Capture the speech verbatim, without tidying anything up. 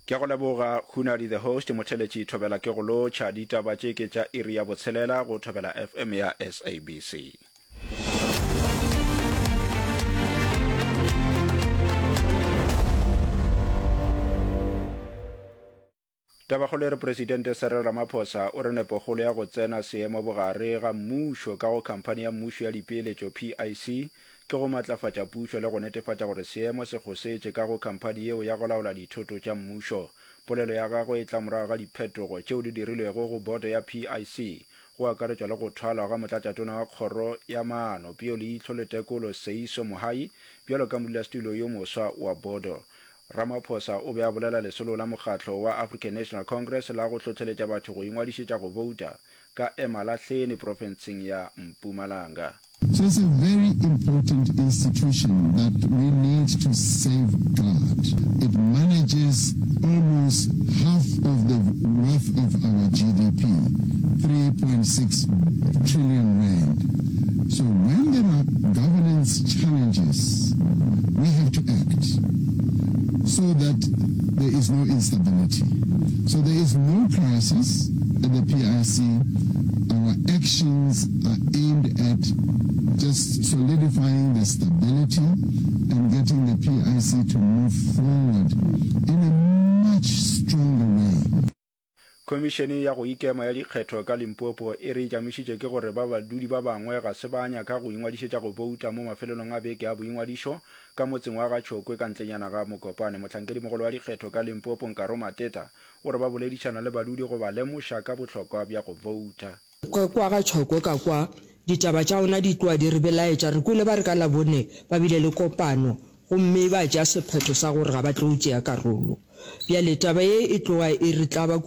Ke a go leboga Hunadi the host, Motheletši Thobela ke go lotšha. Ditaba tše ke tša iri ya botshelela go Thobela FM ya SABC. Tabakgolo e re Presidente Cyril Ramaphosa o re nepokgolo ya go tsena seemo bogare ga mmušo ka go khamphani ya mmušo ya dipeeletšo, PIC, ke go matlafatša pušo le go netefatša gore seemo se kgosetše ka go khamphani yeo ya go laola dithoto tša mmušo. Polelo ya gagwe e tla morago ga diphetogo tšeo di dirilwego go boto ya PIC, go akaretšwa le go thwalwa ga Motlatšatona wa Kgoro ya Maano, Peoleihlo le Tekolo Seiso Mohai bjalo ka modulasetulo yo moswa wa bodo. Ramaphosa o be a bolela lesolo la mokgatlo wa African National Congress la go hlohleletša batho go ingwadišetša go bouta ka Emalahleni profenseng ya Mpumalanga. So it's a very important institution that we need to safeguard. It manages almost half of the worth of our GDP, three point six trillion rand. So when there are governance challenges, we have to act so that there is no instability. So there is no crisis at the PIC. Our actions are aimed at just solidifying the stability and getting the PIC to move forward in a much stronger way. Khomišene ya go Ikema ya Dikgetho ka Limpopo e re e tšamišitše ke gore ba badudi ba bangwe ga se ba nyaka go ingwadišetša go bouta mo mafelelong a beke a boingwadišo ka motseng wa Ga-Tšhokwe ka ntlenyana ga Mokopane. Mohlankedimogolo wa dikgetho ka Limpopo, Nkaro Mateta, o re ba boledišana le badudi go ba lemoša ka bohlokwa bja go bouta. Ka kwa ga Tšhokwe ka kwa ditaba tša ona di tloga di re belaetša. Re kwele ba re ka Labone ba bile le kopano gomme ba tšea sephetho sa gore ga ba tlo tšea karolo. Bjale taba ye e tloga e re tlaba kudu.